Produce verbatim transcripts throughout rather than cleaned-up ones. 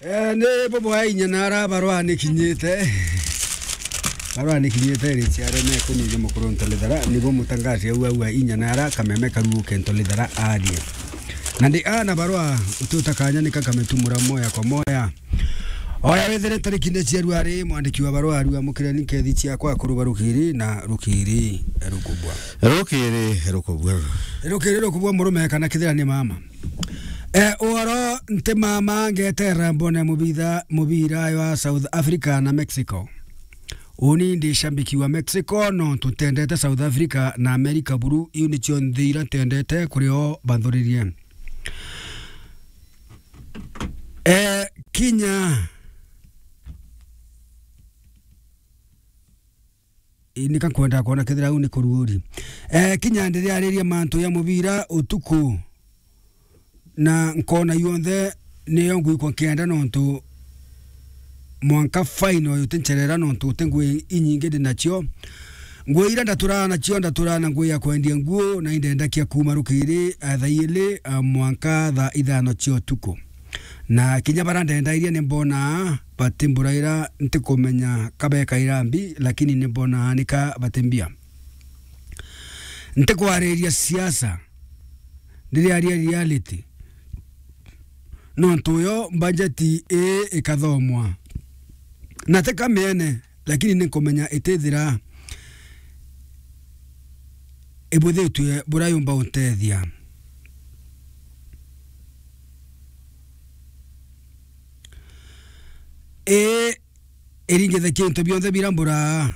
Eh, ni bubwa inya na ara barwa ni kinyite. Barwa ni kinyite ri ciare me kuni jo mukuru ntolithara, ni bo mutangazi au au inya na ara kameme karuke ntolithara arie. Na ndi ana barwa ututa kanya ni kakametumura moya kwa moya. Oya wethire tariki ni cia rwari mwandiki wa barwa arua mukire ni kethi ciakwa kuruba rukiri na rukiri rukubwa. Rukiri rukubwa. Rukiri rukubwa murume kana kithira ni mama. Eh, uhoro nti mama ngetera mbone mubitha, mubira wa South Africa na Mexico. Uni ndi shambiki wa Mexico, no tutendete South Africa na America buru, iu nicio nthi ira ntendete kuri o banthuririe. Eh, kinya Ii, nika nkwenda kwona kethira au ni kuruuri. Eh, kinya ndiriariria mantu ya mubira utuku, na nkona yonthe niyo ngwikwa nkienda, nontu mwanka final utincherera, nontu uti ngui inyingi ndi nacio. Ngui ira ndaturaga nacio, ndaturaga na ngui ya kwendia nguo, na indendakia kuuma rukiri, eh, thaa ili, eh, mwanka thaa ithano cia utuku. Na kinya bara ndendairie ni mbonaa batimburaira, ntikumenya kabekaira mbi, lakini ni mbonaa nika batimbia. Ntikwariria siasa, ndiriaria reality. Nontu yo mbanjeti ii ikathomwa. Na ti kamiene, lakini ni nkumenya itithira ibuthitue buria yumba untethia. Ii iringithakia into bionthe bira mburaa.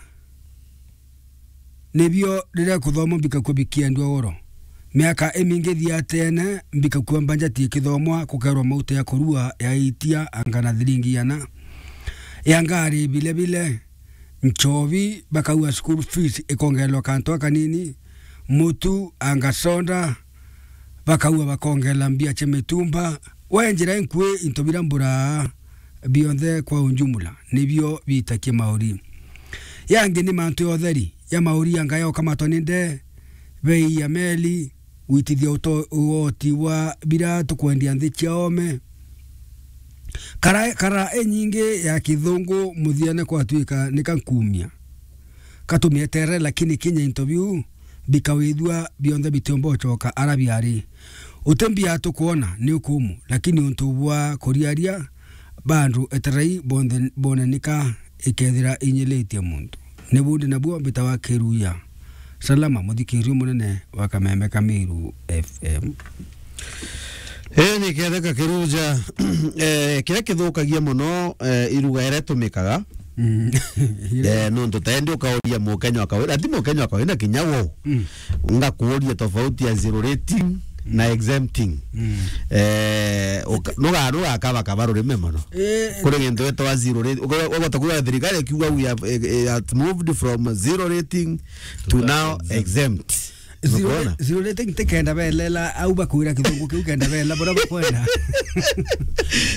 Nibio riria kuthoma mbikakua bikiendua oro. Miaka imingi thia tene, mbikakua mbanjati ikithomwa, kukerwa mauta ya kurua, ya itia, anga na thiringi iana. Ya ngari bile bile, nchobi, bakaua school fees ikongererwa kantu akanini, mutu, anga soda, bakaua bakongerera mbia cia mitumba. We njira inkui into bira mburaa bionthe kwa unjumla, nibio bitakia mauri. Yangi ni mantu ya utheri, ya mauri anga ya ukamatwa ni nde, bei ya meli, gwitithia uto-, ugoti bwa bira tukwendia nthi cia ome. Kara, kara inyingi ya kithungu muthiane kwatuika ni kankumia. Katumietere, lakini kinya into biu bikawithua bionthe bitiumba ucoka ara biari. Uti mbia tukwona ni ukumu, lakini untu bwa kuriaria bandu eterai bonthe bone nika ikethira inyilitie muntu. Ni bundi nabuo mbitawa Kiruya. Salama, muthikirio munene wa Kameme Kamiru F M. Ii ni ketheka Kiruja. Eh, kiria kithukagia muno, eh, iruga iria itumikaga. Mm. Eh, nontu tendi ukauria Mukenya wa kawaida, ati Mukenya wa kawaida kinya wo. Mm. Ngakuuria tofauti ya zero rating na exempting. Mm. Eh, uka-, nuga-, nugakaba kaba rurimi muno. Eh, kuri gintu gitwa zero rating. Uka-, ugota kuuga thirikari ikiuga we have, eh, eh, has moved from zero rating to now exempt. Zero, nukwona? Zero rating ti kenda belela, au bakwira kithungu kiu kenda belela, bora bakwenda.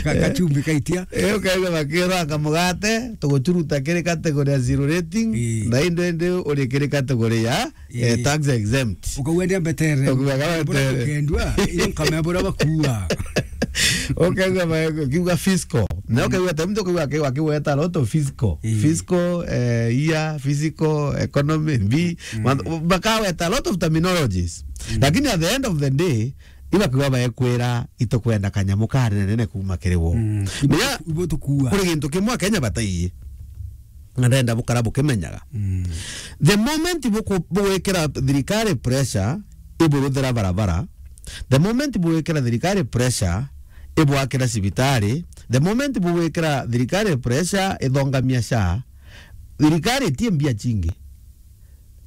Ka-, eh, kachumbi kaitia. Eh, ukaiga bakira kamugate, tuguchuruta kiri category ya zero rating, ii, na indi indi uri kiri category ya, eh, ii, tax exempt. Ukauga ndia mbetere. Ukauga kama bora mbetere. Ukendua, iyo nkamea bora bakua. Ukauga ba-, kiuga fiscal. Na, mm, ukauga ta mtu ukauga akiweta a lot of fiscal. Ii. Fiscal, eh, year, physical, economy, mbi, mm, man-, bakaweta a lot of terminologies. Mm. Lakini at the end of the day, ibakiuga baekwira itukwenda kanyamu kanenene kuuma kiri wo. Mm. Menya ibo tukuua. Kuri gintu kimwe Akenya bataiyi. Na ndenda bukara bukimenyaga. Mm. The moment buku-, bugwikira thirikari pressure, iburuthira barabara, the moment bugwikira thirikari pressure, ibwakira cibitari, the moment bugwikira thirikari pressure, ithongamia SHA, thirikari itie mbia cingi.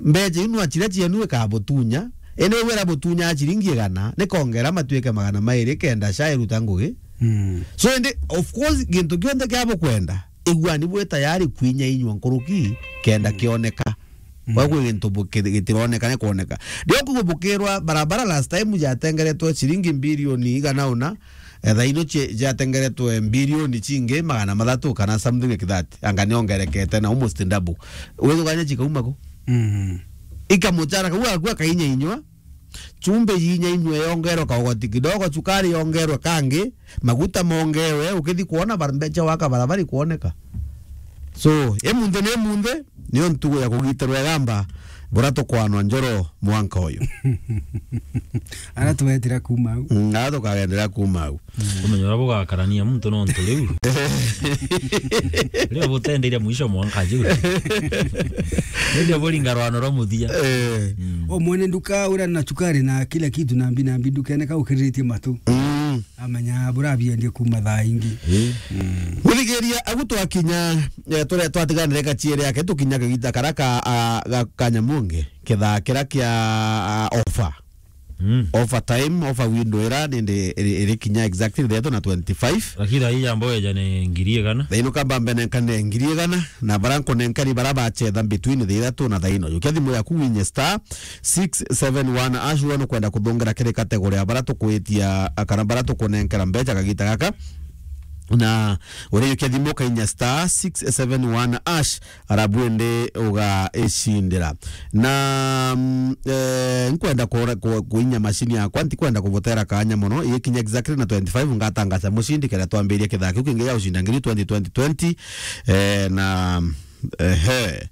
Mbeca iu nwa ciria cienu ikabutunya, indi wira butunya ciringi igana, nikongera matuike magana mairi kenda SHA iruta ngugi. Mm. So, indi, of course, gintu kionthe kia bukwenda, iguani bwi tayari kwinya inywa nkuruki kenda, mm, kioneka. Mm. Kwa kwi gintu buki-, gitironeka, ni kwoneka. Ndio kugu bukirwa barabara last time jatengeretwe ciringi bilioni igana una, eh, thaa ino cie-, jatengeretwe bilioni cingi magana mathatu kana something like that. Anga niongerekete na almost double. Withugania cikauma ku? Mm. Ikamuchara kau akua kainya inywa. chumbi yinya inywe yongerwe kaugoti kidogo, chukari yongerwe kangi, maguta mongerwe, ukithi kuona bar-, mbecha waka barabara ikuoneka. So, emunthe ni emunthe, niyo ntugu ya kugitirwa igamba, bura tukwanwa njoro mwanka uyu. Ara twetira kuma au. Mm, ara tukagendera kuma au. Kumenya uria bugakarania muntu nontu riu. Riu butendeire mwisho mwanka juu. Ndio buringa rwano rwa muthia. Eh. Mm. O mwene nduka uria na chukari na kila kitu na mbi na mbi ndukene ka ukiriritie matu. Mm. Amenya burabiendie kuma thaa ingi. Eh. Mm. Muthikiria, agu twakinya, eh, turia twatiganire kachiere yake, tukinya kagita kara ka, a, ga, ka Nyamunge, kithaa kira kia, a, offer. Mm. Offer time, offer window ira nindi iri, iri kinya exactly thaa ithatatu na twenty-five. Lakini thaa ii yamba weja ni ngiri igana. Thaa ino kamba mbe nenkane ngiri igana, na bara nkunenkani bara bachetha between thaa ithatatu na thaa ino. Jukia thimu yaku winye star six seven one hash, wona kwenda kuthongera kiri category ya bara tukwitia, kana bara tukunenkera mbecha kagita gaka. Na urijukia thimu ukainya star six seven one hash, arabu indi ugaicindira. Na, mm, eh, nkwenda kura-, ku-, kuinya mashini yakwa, ntikwenda kubutera kanya mono, ikinya exactly na twenty-five ngatangaza mushindi, kenda twambiria kithaa kiu kingi gia gucinda ngiri twenty, twenty, twenty, eh, na, ehe,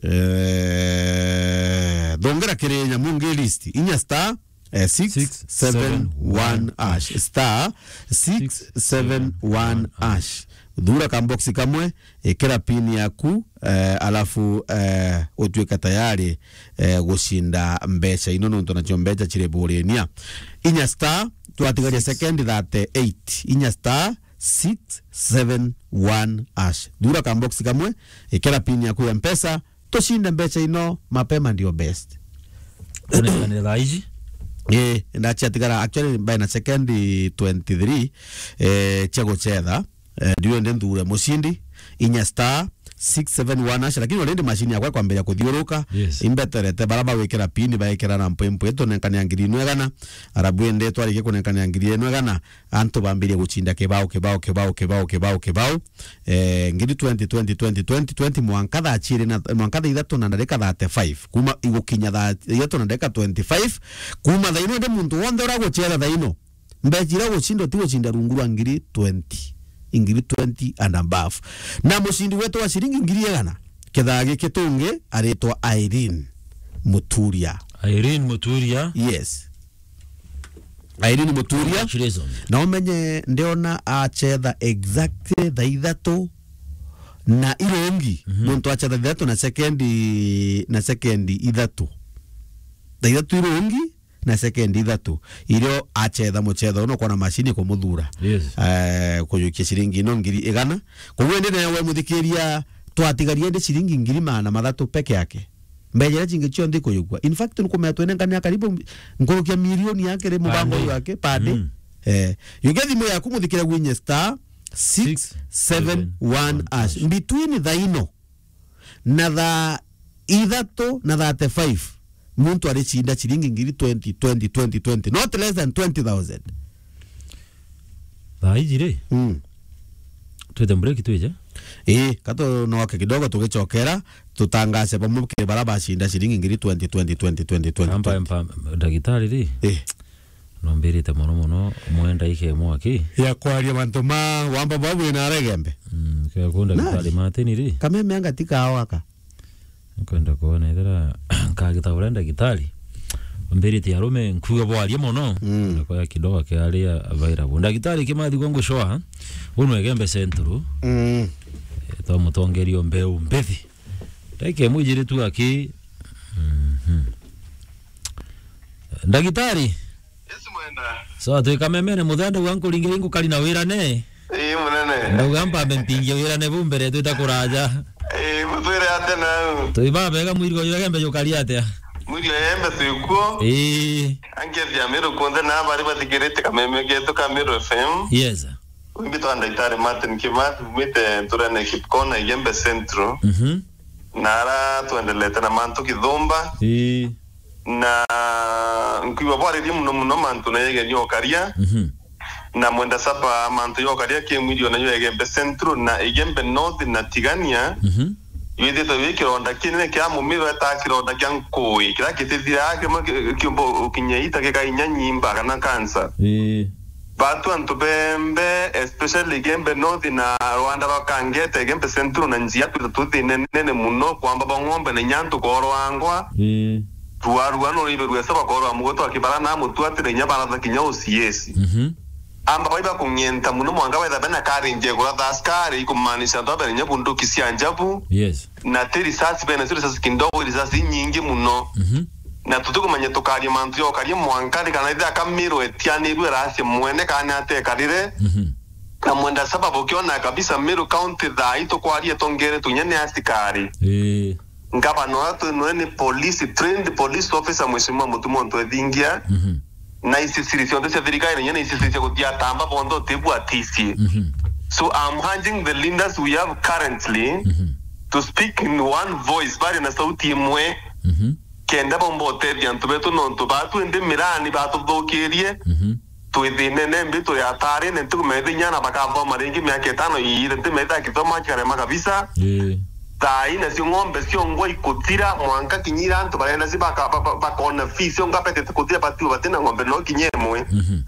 eh, thongera kiri Nyamunge list, inya star, eh, six seven one hash, star six seven one hash. Thura kamboksi kamwe, ikira pin yaku, eh, alafu, eh, utuike tayari, eh, gucinda mbecha ino, nontu nacio mbecha ciri burinia. Inya star, twatigaria second thirty-eight. Inya star six seven one hash. Thura kamboksi kamwe, ikira pin yaku ya Mpesa, tucinde mbecha ino mapema ndio best. Kunekanire thaa iji? Eh, ndachiatigara actually by na second twenty-three, eh, chia guchetha. Eh, ndio ende nthure mushindi, inya star six seven one hash, lakini already mashini yakwa kwambiria kuthiuruka. Yes. Imbeterete bara bawikira pin, baikira na mpwempwe, tunenkania ngiri ino igana, arabu ende twarikie kunenkania ngiri ino igana, antu bambirie guchinda kibao, kibao, kibao, kibao, kibao, kibao. Eh, ngiri twenty, twenty, twenty, twenty, twenty, mwanka thaa chiiri na, mwanka thaa ithatu na ndarika thirty-five. Kuma igukinya thaa ithatu na ndarika twenty-five, kuma thaa ino ndi muntu wonthe uraguchera thaa ino, mbecha iria gucindwa ti gucinda rungu rwa ngiri twenty, ngiri twenty and above. Na mucindi wetu wa ciringi ngiri igana, kithaa giki tungi aritwa Irene Muturia. Irene Muturia. Yes. Irene Muturia. Congratulations. Na umenye ndiona achetha exactly thaa ithatu na irungi. Mhm. Muntu achetha thaa ithatu na sekendi, na sekendi ithatu. Thaa ithatu irungi na sekendi ithatu. Irio achetha muchetho uno kwona mashini kumuthura. Yes. Eh, kujukia ciringi ino ngiri igana. Koguo indi nawe muthikiria twatigaria indi ciringi ngiri magana mathatu peke yake. Mbecha iria cingi cionthe ikuyukua. In fact, nukumenya twenengania karibu nkurukia milioni yake ri mubango uyu wake per day. Mm. Eh, yukia thimu yaku muthikiria gwinye star six seven one hash. Between thaa ino na thaa ithatu na thirty-five, muntu aricinda ciringi ngiri twenty, twenty, twenty, twenty, not less than twenty thousand. Thaa iji ri? Mm. Twite break twije? Ii, katunoke kidogo tugicokera, tutangace bamwe kiri bara bacinda ciringi ngiri twenty, twenty, twenty, twenty, twenty, twenty. Amba, amba, ndagitari ri? Ii. Nombirite mono mono, mwenda ike mwaki. Ya kwaria mantu ma wamba babu ina aregembe. Mm, kaya ku ndagitari Martin ri? Kameme anga ti kao aka. Nkwenda kuona ethira nkagita uria ndagitari ambiritie arume nkuga bwarie mono. Mm. Na kwaya kidogo kiaria avairable. Ndagitari Kimathi gwa Ngucwa, unu Egembe Central. Mm. Eh, twamutongeria o mbeu mbithi. Ndagika imwe ijiri tu aki. Mhm. Ndagitari. Yes, mwenda. So, twi kamemene muthende gwa nkuringe ingukari na wirane. Ii, munene. Ndauga mpambe mpingie wirane bu mbere twita kuraja. Ii, mutwire atia nau? Twi babega mwiri uyu Egembe jukari atia? Mwiri wa Egembe twi kuo. Ii. Angethia Meru kunthe na bari bathikirite kameme getu ka Meru F M. Yes. Mbitwa Ndagitari Martin Kimathi, mbite nturene Kipkona, Igembe Central. Mhm. Na ara twendelete na mantu kithumba. Ii. Na nkwigua bwaririe muno muno mantu na yegeni okaria. Mhm. Na mwenda saba mantu yokaria kimwiri ona yo Igembe Central na Igembe North na Tigania. Mhm. Withite wi kironda kinene kia mumiru eta kironda kia nkui, kira kitithira kimwe ki-, kiumba ukinye ita gikainya nyimba kana kansa. Ii. Batu antu bembe, especially Gembe North na rwanda rwa Kangete, Gembe Central na njia kwitha tu thina nene muno, kwamba ba ng'ombe na inya antu korwangwa. Ii. Rwarua no riberua saba korwa mugo twa kibara na mutu atire inya baratha kinya uciesi. Mhm. Amba bai bakung'enta muno mwanka wetha bena courage ya kuratha askari, ikumaanisha antu abere inya bunduki cia njabu. Yes. Na ti risasi bene, ti risasi kidogo, risasi inyingi muno. Mhm. Na tutikumenya tukaria mantu ya ukaria mwanka ni kana ithe akamirwe etianirwe rasi mwene kana atekarire. Mhm. Na mwenda sababu ukiona kabisa Meru County thaa ii tukwaria tongere tunya ni asikari. Ii. Ngavana uria twi nwe ni police, trained police officer, Mheshimiwa Mutuma Ntwethingia. Mhm. Na ici ciri cionthe cia thirikari, na inya na ici ciri cia guthiatamba bonthe utibua aticie. Mhm. So I'm urging the leaders we have currently Mhm. to speak in one voice, bari na sauti imwe, Mhm. kenda bomba utethia antu betu, nontu batu indi mirani batuthukirie. Mhm. Twi thinene mbi, turi atarine, ntikumenya inya na bakathoma ringi miaka itano iire, ntimetha akithoma kikarema kabisa. Ii. Thaa ii nacio ng'ombe ciongwa ikuthira, mwanka kinyira antu barenda ci baka-, ba-, ba-, bakona fee cionga betete kuthira, batiwe batina ng'ombe no kinya imwe. Mhm.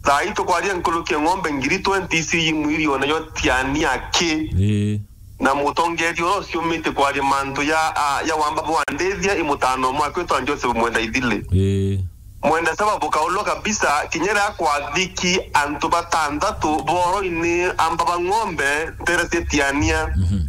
Thaa ii tukwaria nkuruki ya ng'ombe ngiri twenty ici imwiriona yo tiania ki. Ii. Na mutongeria uria uciumite kwaria mantu ya, a, ya wamba bwandithia i mutano mwaka witwa Joseph Mwenda Ithili. Ii. Mwenda sababu kaulwa kabisa, kinya riria kwathiki antu batanthatu boroini amba ba ng'ombe ntere cia Tiania. Mhm.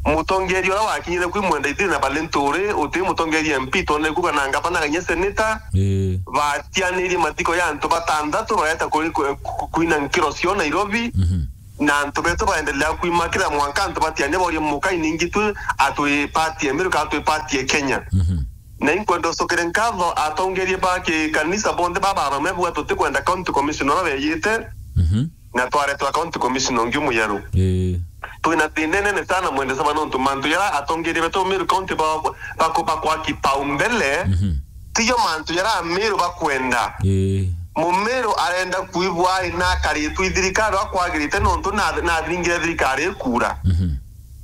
Mutongeria uria wakinyire kwi Mwenda Ithili na Balinturi, uti mutongeria M P, tone kuga na ngavana kanya seneta, Ii. batianirie mathiko ya antu batanthatu bareta kuri-, ku-, ku-, kuina nkiro cio Nairobi. Mhm. Na antu betu baendelea kwima kila mwanka antu batiania boria muka iningi tu atwi party ya Meru kana atwi party ya Kenya. Mhm. Na inkwenda ucokere nkatho atongeria ba kikanisa bonthe ba barome bwa tutikwenda county commissioner uria weyite, Mhm. na twaretwa county commissioner ungi muyeru. Ii. Twina thina nene sana mwende saba nontu mantu yara atongeria betu Meru County ba, ba, ba, bakwa kipaumbele, Mhm. tiyo mantu yara Meru bakwenda. Ii. Mumiru arenda kuigua ari na akaritwe i thirikari akwagirite nontu na, nathingire thirikari ikura. Mhm.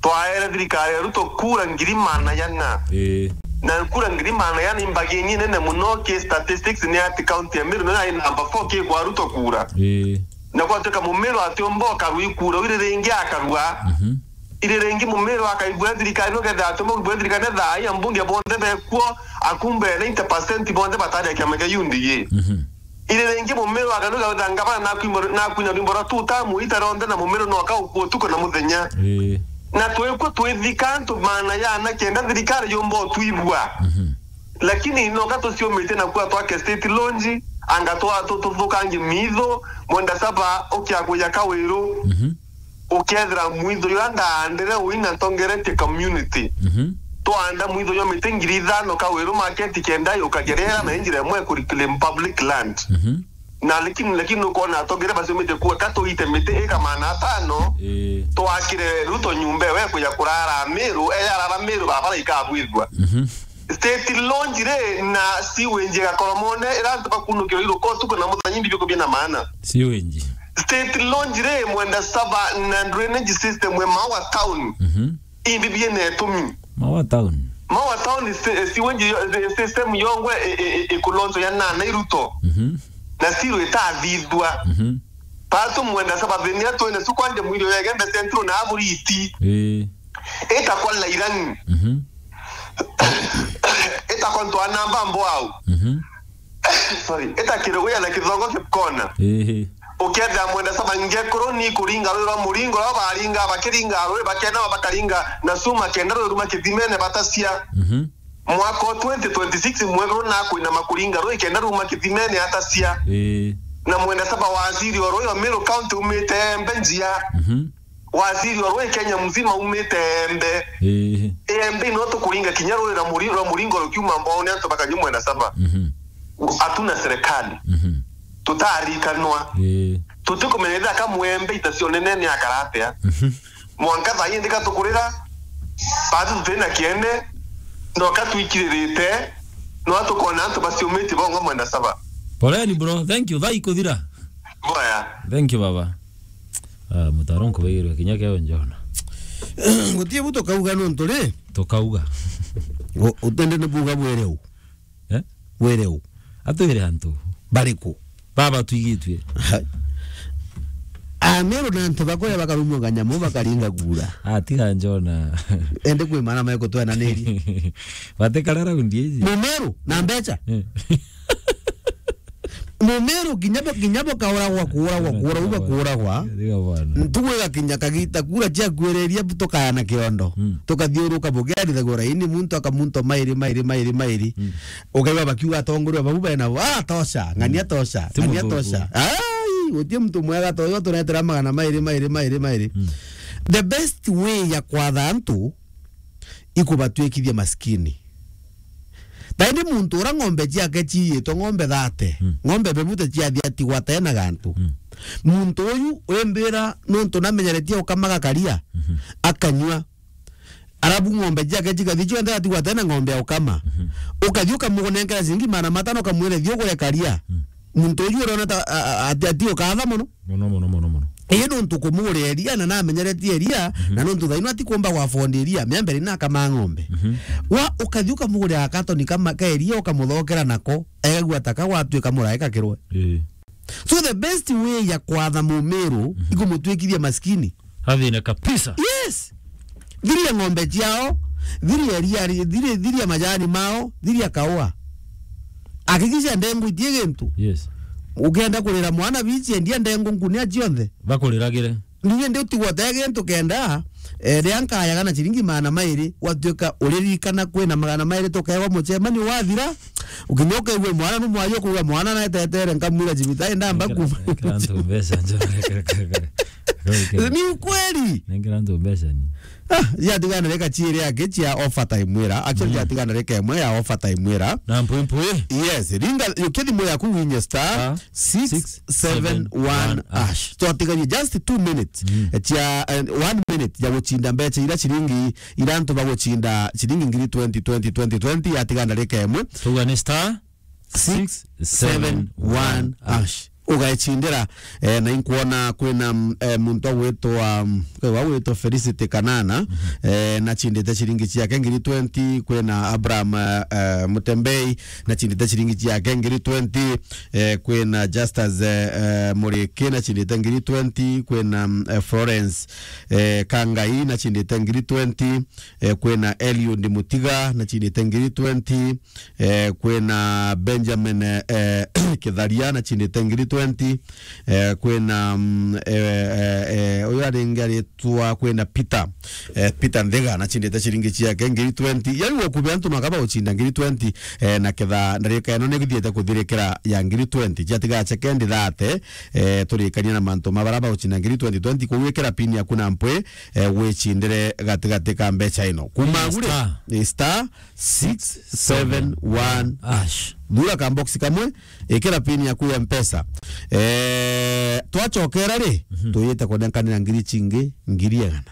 Twaere thirikari ya Ruto kura ngiri maana yana. Ii. Na kura ngiri maana yana imbagi nene muno ki statistics ni ati county ya Meru nina i number four ki kwa Ruto kura. Ii. Na gwatuika Mumiru atiumba ukarua ikura, iri ringi akarua. Mhm. Iri ringi Mumiru akaigua thirikari no ketha atiumba kuigua thirikari na thaa ii ambunge bonthe bekuo, akumbe ninety percent bonthe batari ya kiama kia U D A. Mhm. Iri ringi Mumiru akanuga witha ngavana nakwina rwimbo rwa two term ita rionthe na Mumiru no akauku utuku na muthenya. Ii. Na twikwo twithika antu maana yana kenda thirikari yumba utwigua. Mhm. Lakini noka tuciumite na kuwa twake state launch, anga twa tu-, tuthukangi mitho, mwenda saba ukiakuya kawiru. Mhm. Ukethira mwitho jwa ndaandire uina ntongeretie community. Mhm. Twaanda mwitho jwa miti ngiri ithano kawiru market kenda yukagia riera na injira imwe ku reclaim public land. Mhm. Na lakini, lakini ukona atongere baciumite kuwa ka tuite miti ika maana atano, Ii. twakire Ruto nyumba ewe kuja kurara Meru, eya arara Meru, barabara ikabwithua. Mhm. State launch ri na sewage igakoromone, ira antu bakunukirwa iruko utuku na muthenya, imbi bikubia na maana. Sewage. State launch ri mwenda saba na drainage system we Maua Town. Mhm. Imbi biena itumi. Maua Town. Maua Town si-, sewage yo-, si-, system yongwe i-, i-, i-, ikulonzo ya nana iruto. Mhm. Na siro itathithua. Mhm. Patu mwenda saba thini atwene sukwanje mwiri ya Gembe Central na Aburiti. Ii. Itakwa Lairani. Mhm. Itakwa ntwa namba mbo au. Mhm. Sorry, ita kiruguya na kithongo kipkona. Ii. Ukethira mwenda saba ngekuru ni kuringa rwi rwa muringo rwa baringa, bakiringa rwi bakena bakaringa na suma kenda rwi ruma kithimene batacia. Mhm. Mwaka wa twenty twenty-six mwekuru na kwina makuringa rwi kenda ruma kithimene atacia. Ii. Na mwenda saba waziri wa rwi wa Meru County umite mbe njia. Mhm. Waziri wa rwi Kenya mzima umite Embe. Ii. Embe no tukuringa kinya rwi rwa muri-, rwa muringo rukiuma mbao ni antu bakanyumwe na saba. Mhm. Hatuna serikali. Mhm. Tutarikanwa. Ii. Tutikumenya ithaka mwembe itacionene ni akaratea. Mhm. Mwanka thaa ii ndika tukurira, batu tutina kiene, no ka twikiririte, no tukona antu baciumite bongo mwenda saba. Poleni bro, thank you. Thaa ikuthira. Boya. Thank you baba. Ah, mutaro nkubairwe kinya keo njona. Gutie bu tukauga nontu ri? Tukauga. U-, utende ni buga bwere u. Eh? Bwere u. Atwire antu. Bariku? Baba twigitwe. Ameru na antu bakuria bakarumwa kanyamu bakaringa kura. Atiga njona. Ende kwi mana mai kutwenaniri. Batikara raundi iji. Mumeru na mbecha. Eh. Mumeru kinya bo-, kinya bokauragwa, kuuragwa, kuuragwa, uga kuuragwa. Tiga bwana. Ntugu igakinya kagita kura ciakuereria bu tukayana kiondo. Mm. Tukathiuruka bugiarithagua raini muntu akamunto mairi, mairi, mairi, mairi. Mm. Ukaigua bakiuga atongoria bau bena bo, "Ah, tosha, ng'ania tosha, ti ng'ania muthuku. Tosha." Ai, gutie muntu mwega ta uyu turetera magana mairi, mairi, mairi, mairi. Mm. The best way ya kwatha antu ikubatwikithia maskini. Taindi muntu ura ng'ombe ciake ciiyitwe ng'ombe thate, mm, ng'ombe bebute ciathia tigwa tena gantu. Mm. Muntu uyu wimbira nontu namenyeretie ukamaga karia, mhm, akanyua. Arabu ng'ombe ciake cikathi cionthe atigwa tena ng'ombe ya ukama. Mhm. Ukathi ukamunenkera ciringi magana matano ukamwira thi ugure karia. Mm. Muntu uyu urona ta, a, a, ati, ati ukatha mono. Mono, mono, mono, mono. Ii nontu kumuguria iria na namenyeretie iria, mhm, na nontu thaino atikumba gwa afford iria, miambere na akama ng'ombe. Mhm. Wa ukathi ukamugurira katoni kama ka iria ukamuthokera nako, egagua ta ka gwatuika murae kakirwe. Ii. So the best way ya kwatha mumiru, mhm, ikumutwikithia maskini. Athine kabisa. Yes. Thiria ng'ombe ciao, thiria iria ri-, thiria, thiria majani mao, thiria kaua. Hakikisha ndengu itie gintu. Yes. Ukienda kurira mwana bici, endia ndengu nkunia cionthe. Bakuriragire. Ninya ndi utigwa te gintu kenda, eh, ria nkayaga na ciringi magana mairi, gwatuika uririkana kwina magana mairi tukewa mucemanio wathira, ukinya ukaigua mwana numwayo kuga mwana naetetere nkamwira cibitari ndamba kuma. Nengera antu mbeca njona. Ni ukweli. Nengera antu mbeca ni. Ah, yatigana reka ciiri yake cia offer time wira. Actually, mm, yatigana reka imwe ya offer time wira. Na mpwi mpwi. Yes, ringa, yukia thimu yaku winye star, ah, six seven one hash. Twatiganie just two minutes, mm, cia, eh, one minute ya gucinda mbeca ira ciringi, ira antu bagucinda ciringi ngiri twenty, twenty, twenty, twenty, yatigana reka imwe. Tuga ni star six seven one hash. Ugecindira, eh, na inkwona kwina, mm, eh, muntu agwitwa, mm, kwigwa agwitwa Felicity Kanana, mhm, eh, nachindite ciringi ciake ngiri twenty, kwina Abraham, eh, eh, Mutembei, nachindite ciringi ciake ngiri twenty, eh, kwina Justus, eh, eh, Muriki, nachindite ngiri twenty, kwina, mm, eh, Florence, eh, Kangai, nachindite ngiri twenty, eh, kwina Eliud Mutiga, nachindite ngiri twenty, eh, kwina Benjamin, eh, Kitharia, nachindite ngiri twenty, eh, kwina, mm, eh, eh, eh, uyu aringi aritwa, kwina Peter, eh, Peter Nthiga, nachindite ciringi ciake ngiri twenty. Yari wakubi antu makaba ucinda ngiri twenty, eh, na ketha ndarika ino ni guthiete kuthirikira ya ngiri twenty. Ciatiga sekendi thate, eh, turikania na mantu ma bara baucinda ngiri twenty twenty, kugwikira pin yaku na mpwi, eh, wicindire gatigati ka mbeca ino. Kuma gure, star, ni star six seven one hash. Thura ka box kamwe, ikira pin yaku ya Mpesa. Eh, twachokera ri, mhm, tuyite kunenkanira ngiri cingi, ngiri igana.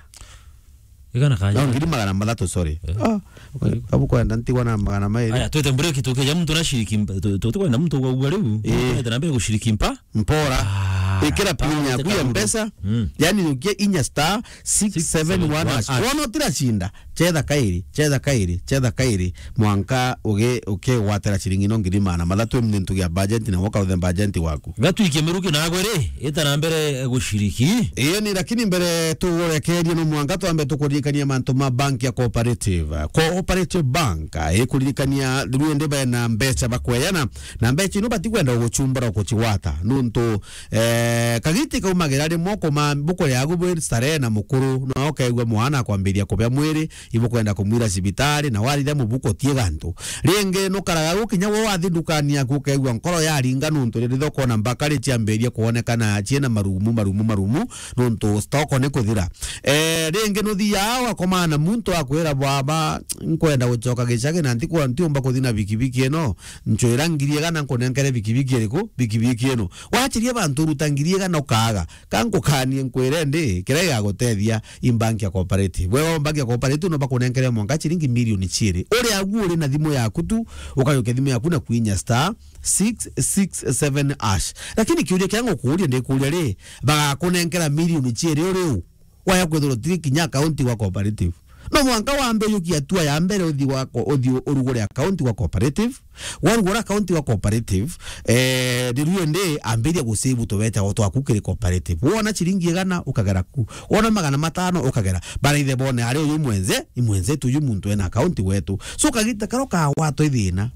Igana kanya. No, ngiri magana mathatu, sorry. Eh. Ah, okay. Abu kwenda ntigwa na magana mairi. Aya, twete break, tukija muntu na shiriki mpa-, tu-, tu-, tukwenda muntu ugagua riu, eh, muntu na mbere gushiriki mpa. Mpora. Ah, ikira pin yaku ya Mpesa. Mm. Yani, ukie inya star six seven one hash. Wona utiracinda, chetha kairi, chetha kairi, chetha kairi, mwanka ugi-, ukigwatira ciringi no ngiri magana mathatu ni ntu gia budget na woka uthe budget waku. Gatwikie miruki nagwe ri, ita na mbere gushiriki. Iyo ni, lakini mbere tugurekerie no mwanka twambe tukuririkania mantu ma bank ya Cooperative. Cooperative Bank, eh, ikuririkania riu indi bena mbeca bakweyana, na mbeca ino batikwenda gucumbura gucigwata. Nuntu, eh, kagiti kaumagira rimwe kuma bukuri yagu bwi starehe na mukuru, no ukaigua mwana akwambiria kubea mwiri, ibukwenda kumwira cibitari, na warithia mubuko tie gantu. Ringi nukaraga gukinya wo wathi ndukani yaku ukaigua nkoro yaringa nuntu riria thoko na mbakari ciambiria kuonekana ciina marumu, marumu, marumu, nuntu stock ni kuthira. Eh, ringi nuthiaa ugakomana na muntu akwira, "Baba, nkwenda gucoka gicagi na ntikwa-, ntiumba kuthi na bikibiki ino, ncwira ngiri igana nkunenkere bikibiki iriku? Bikibiki ino." Wachiria bantu uruta ngiri igana ukaaga. Ka nkukanie nkwire ndi, kiria gigagutethia i bank ya Cooperative. Wewe bank ya Cooperative no bakunenkere mwanka ciringi milioni ciiri. Uria agu uri na thimu yaku tu, ukayukia thimu yaku na kwinya star six six seven hash. Lakini kiuria kiria ngukuuria, ndikuuria ri, bagakunenkera milioni ciiri uri u? Waya kwithirwa utiri kinya account gwa cooperative. No mwanka wambe ujukie hatua ya mbere uthi gwa ko-, uthi urugure account gwa cooperative. Warugura account gwa cooperative, eh, riu indi ambiria gusave tubecha twaku kiri cooperative. Wona chiringi igana, ukagera ku. Wona magana matano, ukagera. Baraithe bone ari uyu mwenze, i mwenzetu uyu muntu ena account gwetu. So kagita karo kagwatwa i thina.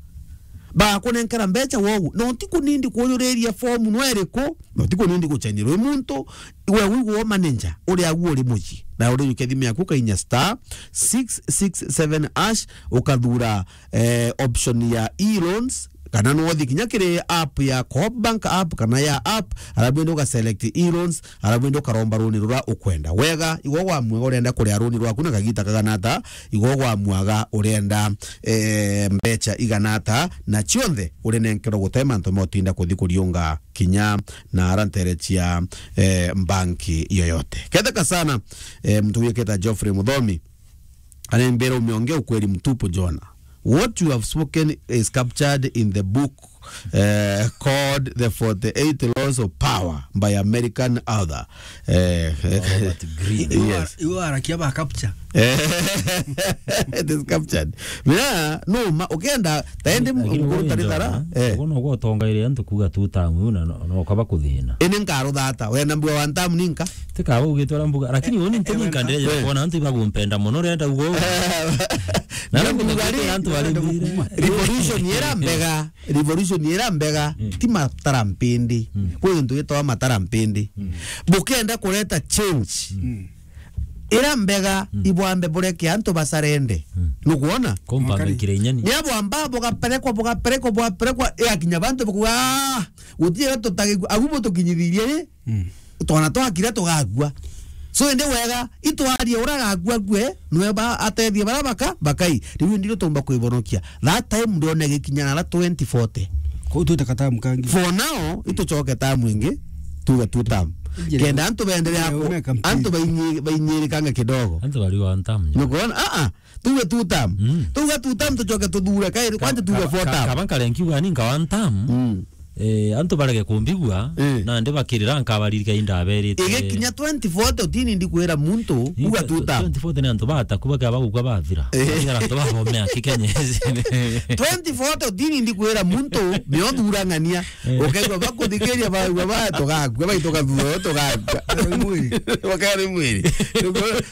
Bakunenkera mbecha wogu. No ti kunindi kuyuriria form no iriku, no ti kunindi guchenyerwa i muntu, we wigwa manager, uria agu uri mucii. Na uri uke thimu yaku ukainya star six six seven hash, ukathura, eh, option ya e-loans, kana no uthi kinya kiri app ya Coop Bank app, kana ya app, arabu indi uga select e-loans, arabu indi ukaromba runi rura ukwenda. Wega, igwe gwamwega urenda kuria runi rwaku na kagita kagana ata, igwe gwamwaga urenda, eh, mbecha igana ata, na cionthe urinenkerwa gute mantu ma utinda kuthi kuriunga kinya na ara ntere cia, eh, mbanki yoyote. Ketheka sana, eh, mtu wiketa Geoffrey Muthomi, anembere umeongea ukweli mtupu, Jona. What you have spoken is captured in the book, eh, called The forty-eight Laws of Power by American author. Eh, Robert Greene. Yes. Iwe ara-, iwe arakia ba capture. Eh, it is captured. Mina, no, ma, ukenda, taende. Lakini mkuru uyu taritara, Jona, eh, ugu noguo utongeire antu kuuga two term, na no, no kaba kuthina. Ini nkaruthata, wenda mbuga one term ninka? Tikaba ugite uria mbuga, lakini uni ntininka ndeja, eh, kuona antu ibagumpenda mono, urenda ugo. Na ndio mbuga mbuga ri, antu bari mbire. Revolution ira mbega, revolution ira mbega, mm, ti matara mpindi. Mm. Kwi untu witwa matara mpindi. Mm. Bukenda kureta change. Mm. Ira mbega, mm, ibwambe bureke antu basarende. Mm. Nukwona? Compound. Makari. Nkire inyani. Ni abwamba bugaperekwa, bugaperekwa, bugaperekwa, igakinya bantu bakuga, "Ah, gutire tutagikua, agu butukinyithirie ri?" Mm. Twana twakira tugakua. So, indi wega, itwarie ura agakua kue, nwe ba atethie bara baka, bakai. Riu indi riu tumba kwibonokia. That time ndione gikinya na twenty forty. Kuu twite katamu kangi. For now, itucoke tamu ingi, tuge two term. Njira. Kenda antu benderea ku-, ume campaign. Antu bainyi-, bainyirikanga kidogo. Antu bari one term. Nukwona? Ah, ah. Tuge two term. Mm. Tuge two term tucoke tuthure. Kai, ka-, kwanja tuge ka-, four ka-, term. Kaba nkarenkiuga ni nka one term. Mm. Eh, antu barege kumbigua, eh, nandi bakirira nkabaririka indaberite. Igikinya twenty forty utini ndikwira muntu, uga two term. Twenty forty ni antu bataku bakaba gukua bathira. Eh. Bathira antu babomea kikenya. Twenty forty utini ndikwira muntu, miothurang'ania. Eh. Ukaigua bakuthikiria, baigua ba, tugakua, baitu gathuro, tugakua. Bakari mwiri. Bakari mwiri.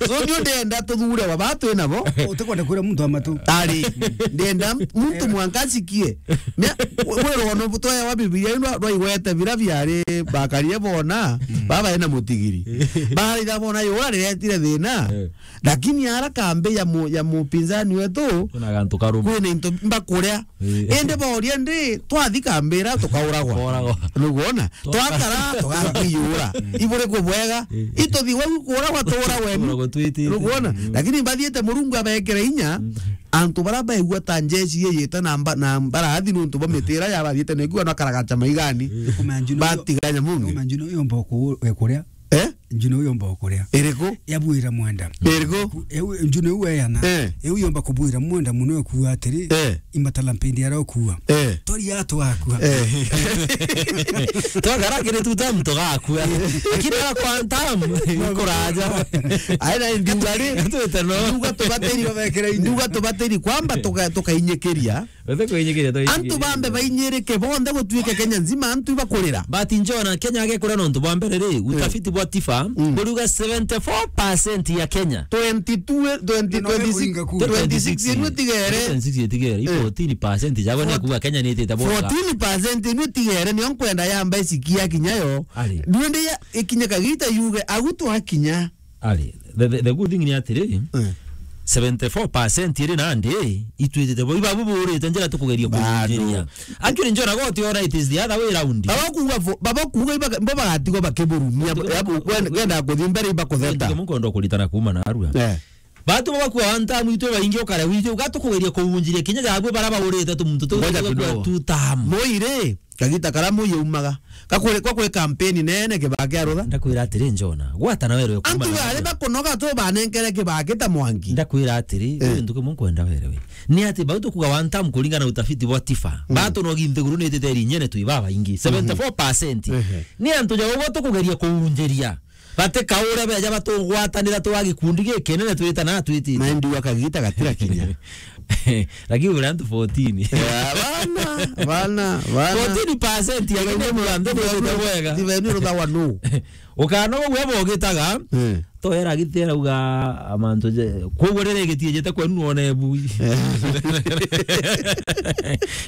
So, ndio ndenda tuthure wa batu ena bo. Utikwenda kwira muntu amatu. Ari, ndenda muntu mwanka asikie. Mia, we, we rono butoya wa Biblia ino rwaigwete bira biari bakarie bona, mm, baba ena mutigiri. Baraitha bona yura riretire thina. Eh. Lakini ara kambi ya mu-, ya mupinzani wetu, kuna gantu karume. Kwina into mbakuria. Eh. Indi boria ndi, twathi kambira tukauragwa. Tukauragwa. Nukwona? Twa- Twakara, tugakwiyura. Iburi kubwega. Eh. Ituthi wau kuuragwa tuuragwe ni. Tuuragwe twitite. Nukwona? Mm. Lakini bathiite Murungu abekere inya, mm, antu bara baigua ta njeshi yeyite na mba-, na mbarathi nuntu bwa mitira ya bathiite na igua na karagacha maigani. Eh. Kumenya njuno iyo, batiganya mungi. Kumenya njuno iyo mboku we kuria. Eh? Njuno uyu mba ukuria. Iriku? Yabwira mwenda. Iriku? Ku-, eu, njuno uyu eyana. Eh. Eu yomba kubwira mwenda muno ekuuga atiri, eh, imatala mpindi aria ukuuga. Eh. Twaria tugakua. Eh. Twakara kiri two term tugakua. Lakini ara kwa term, ikuraja. Aina ndiuga ri? Twite no. Ndiuga tubatiri, babekere inya. Ndiuga tubatiri kwamba tuka-, tukainyikiria. Wete kwinyikiria, to antu bambe bainyirike bonthe gutuike Kenya nzima antu ibakurira. But Njona, Kenya agekura nontu bwa mbere ri, eh, utafiti bwa tifa, mm, buriuga seventy-four percent ya Kenya. Twenty-two, twenty, na no twenty-six, kuinga ku. Twenty-six inu itigere. Twenty-six itigere, eh, fourteen percent jagwe ni kuuga Kenya ni itite bwega. Fourteen percent inu itigere, nio nkwenda yamba isikia kinya yo. Ari. Ndio ndi ya, ikinye kagita yuge, agu twakinya. Ari, the, the, the good thing ni atiri, eh, seventy-four percent iri nandi, itwitite bo, ibabu burite njira tukugeria kuinjiria. Actually, Njona goti ona it is the other way round. Baba kuuga fo-, baba kuuga iba, iba bagatigwa bakiburumia, batiga ya bu-, kwen-, kenda kuthi mbere iba kutheta. Ndio mukondo kuritana kuuma na arua. Eh. Batu baba kwa one term itwe baingi ukare wije, ugatukugeria kuunjiria kinya jabwe bara baurite tu muntu tu. Ngoja kidogo. Two term. Moire. Kagita kara muyi umaga. Gakuri-, gakuri kampeni nene Kibaki arutha. Ndakwira atiri, Njona, gwata na werewe kuuma. Antu na bari bakunoga tu banenkere Kibaki ta mwanki. Ndakwira atiri, eh, uyu ntuku munkwenda werewe. Ni ati bau tukuga one term kuringana na utafiti bwa tifa. Mm. Batunogi nthiguru ni itite iri inyene twi babaingi. Mhm. Seventy-four percent. Ehe. Ni antu ja ugwo tukugeria kuunjiria. Bati kaure beja batugwatanira twa gikundi gikinene twitana twitite. Na indi wakagita gatira kinya. Lakini uri antu fourteen. Eh, bana, bana, bana. Fourteen percent ya Kenya mwantu bwega. Tiveni ruthawa nu. Ukana uguo bogitaga. Eh. To era gitera uga amantu je. Koguo rire gitiejete kwenu one bu. Eh.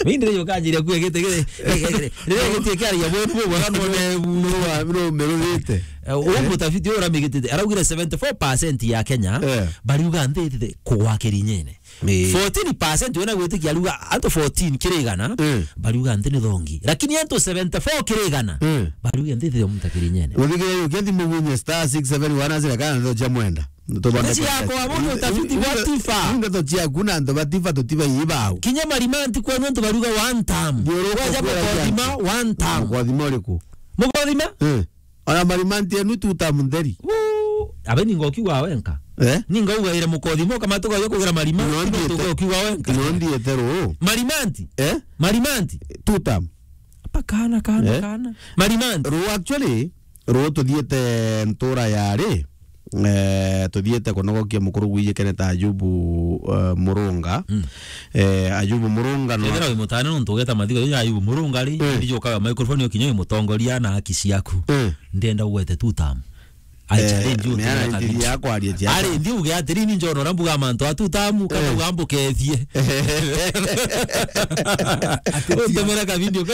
Mimi ndire yokanjiria kue gite gite. Rire gitie kiaria bwenu bwega none bu. No, no, merurite. Eh, uyu mutafiti uyu uramigitite, araugire seventy-four percent ya Kenya, eh, bariuga nthi ithithe kugwa kirinyene. Eh. Fourteen percent wena gwitikia ariuga antu fourteen kiri igana, eh, bariuga nthi ni thongi. Lakini antu seventy-four kiri igana, eh, bariuga nthi ithithe muntu kirinyene. Uthikiria ukithi mugunye star six seven one asira kana ndo cha mwenda. Tubone. Ndeto ciakwa, bundu utafiti bwa tifa. Ndeto ciaku na antu ba tifa tutiba ibao. Kinya marimanti kwenu antu bariuga one term. Ndio uko. Waja kwera mukothima, one term. Mukothima uriku? Mukothima? Eh. Ona marimanti enu two term ntheri. Wuu, abe ninga ukiuga wenka. Eh? Ninga ugaire mukothimo kama tugayo kugira marimanti, no ndiete, tuga ukiuga wenka. No ndiete ru. Marimanti? Eh? Marimanti? Two term. Apa kana, kana, eh? Kana. Marimanti. Ru actually, ru tuthiete ntura yari, eh, tuthiete kunogokia mukuru gwijikene ta Ayubu, eh, Murunga. Mm. Eh, Ayubu Murunga no. Kethira wi mutane nontu ugeta mathigo ya Ayubu Murunga ri, eh, ndijukaga microphone ukinye mutongoria na haki ciaku. Eh. Ndenda ugwete two term. I, eh, challenge you, ni ara ntumira ka video. Yakwaria cia. Ari, ndi uge atiri, ni njona uria mbuga mantu a two term, kana, eh, uga mbukethie. Untumira ka video ka.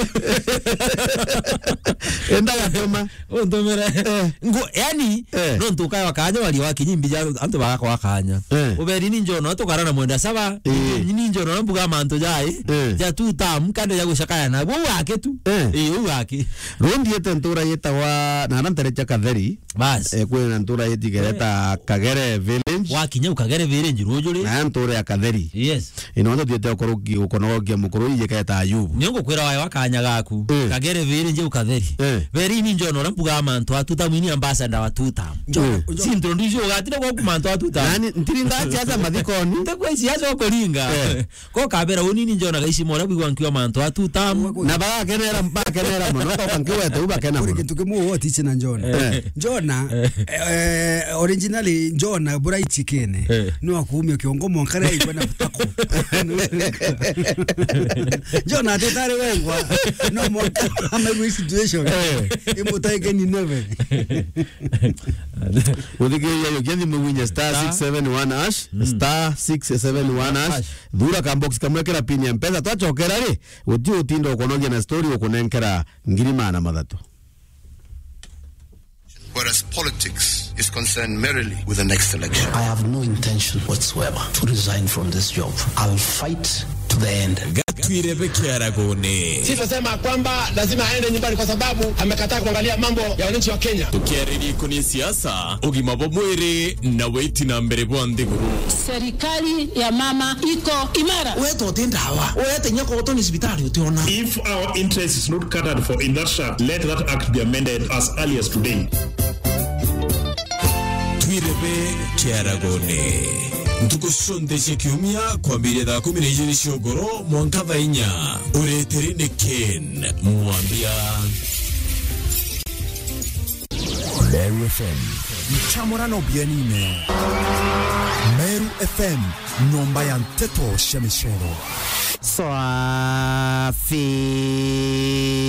Enda gatuma. Untumire. Eh. Ngo, yani, eh, nontu ukaya wakanya waria wakinyi mbija antu bagakwa kanya. Eh. Uberi ni njona tukara na mwenda saba. Eh. Ni njona na mbuga mantu jai. Eh. Ja two term, kande ja gucakaya na. Bo wake tu. Eh. Eh, u wake. Ru ndiete ntura yetawa, na ara ntere cha Katheri. Bas. Eh, kwina ntura yetigere, eh, ta Kagere Village. Wakinya u Kagere Village rujuri. Na ntura ya Katheri. Yes. Ino ndo thiete ukonogokia mukuru ijiketa Ayubu. Ni ngukwira wae wakanya gaku. Eh. Kagere Village u Katheri. Eh. Veri ni njona uria mbuga mantu a two term, ni ambassador wa two term. Njo-, eh, njo- Si introduce ugatire gwaku mantu a two term. Nani, ntiringa siasa mathikoni. Ntekwa siasa ukuringa. Eh. Ko kabera uni ni njona gaicima uria bwigwa nkiwa mantu a two term. Na bagakenera, bakenera mono, ko kankigwete u bakena mono. Kuri kintu kimwe wotiche na njona. Eh. Njona, eh, originally njona buraichikene. Eh. No akuumia kiongo mwanka ria igwe na butako. Njona atetare wengwa. No mwanka amaigwe situation. Eh. Imutaike ni neve. Uthikiria yo kiathi mugunye star six seven one hash, mm, star six seven one hash. Hash. Thura ka box kamwe kira pin ya mpesa, twachokera ri, guti utinda ukonogia na story ukunenkera ngiri magana mathatu. Whereas politics is concerned merely with the next election. I have no intention whatsoever to resign from this job. I'll fight to the end. Gatwire bekiaragone. Sisi nasema kwamba lazima aende nyumbani kwa sababu amekataa kuangalia mambo ya wananchi wa Kenya. Tukiaririria ikoni siasa, ugima bwa mwiri na witi na mbere bwa nthiguru. Serikali ya mama iko imara. Wewe tote ndawa. Wewe tenya kwa utoni sibitari utiona. If our interest is not catered for in that shaft, let that act be amended as early as today. Twirebe kiaragone. Ntuku cionthe cia kiumia kwambiria thaa kumi na ijiri cia ugoro mwanka thaa inya. Ureteri ni Ken Mwambia. Meru F M. Nchamurano bienine. Meru F M, nyomba ya nteto cia micero.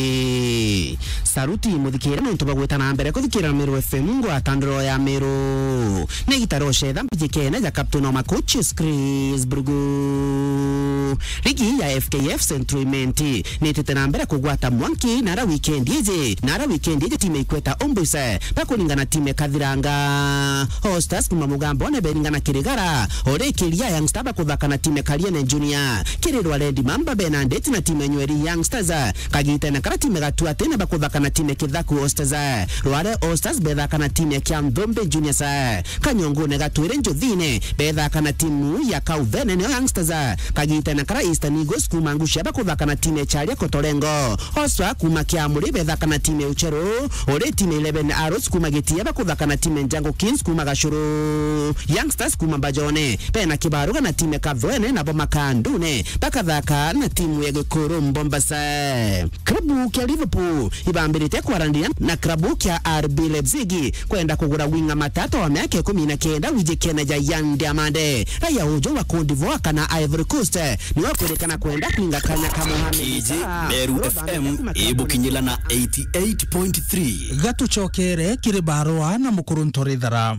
Swafi. Saruti muthikire nontu bagwita na mbere kuthikira Meru F M ngwatandiro ya Meru. Ni gitaro cetha mbijikene ja Captain wa Makuchis Chris Brugu. Ligi ya F K F Central Imenti nitite na mbere kugwata mwanki nara weekend iji, nara weekend iji timu ikweta Ombuise bakuringana timu ikathiranga. All Stars kuma Mugambone beringana Kirigara, ori Kiria Young Star bakuthaka na timu Kariene Junior, Kirirwa Red Mamba bena ndeti na timu Nyweri Young Stars, kagitene kara timu Gatuatene bakuthaka na timu Kithaku All Stars, Rware All Stars bethaka na timu kia Nthombe Juniors, Kanyongune Gatwire Njuthine bethaka na timu ya Kauvene nio Young Stars, kagitene Kara Eastern Eagles kuuma Ngucia bakuthaka na timu ya Charia Kotorengo. Oswa kuuma Kiamuri bethaka na timu ya Ucheru. Uri timu ya Eleven Arrows kuuma Gitia bakuthaka na timu ya Njangu Kings kuuma Gacuru. Youngsters kuuma Mbajone bena kibaruga na timu ya Kathwene, nabo Makandune bakathaka na timu ya Gikuru Mombasa. Klabu kia Liverpool ibambirite kwarandiria na klabu kia R B Leipzig kwenda kugura winga matata wa miaka ikumi na kenda wijikene ja Yan Diamande, raia uju wa Cote d'Ivoire kana Ivory Coast, niwe ukwirikana kwenda kwinga kanya ka Mohamed Kiji Salah. Meru F M ibukinyila na eighty-eight point three. Gatucokere kiri barua na mukuru Ntorithara.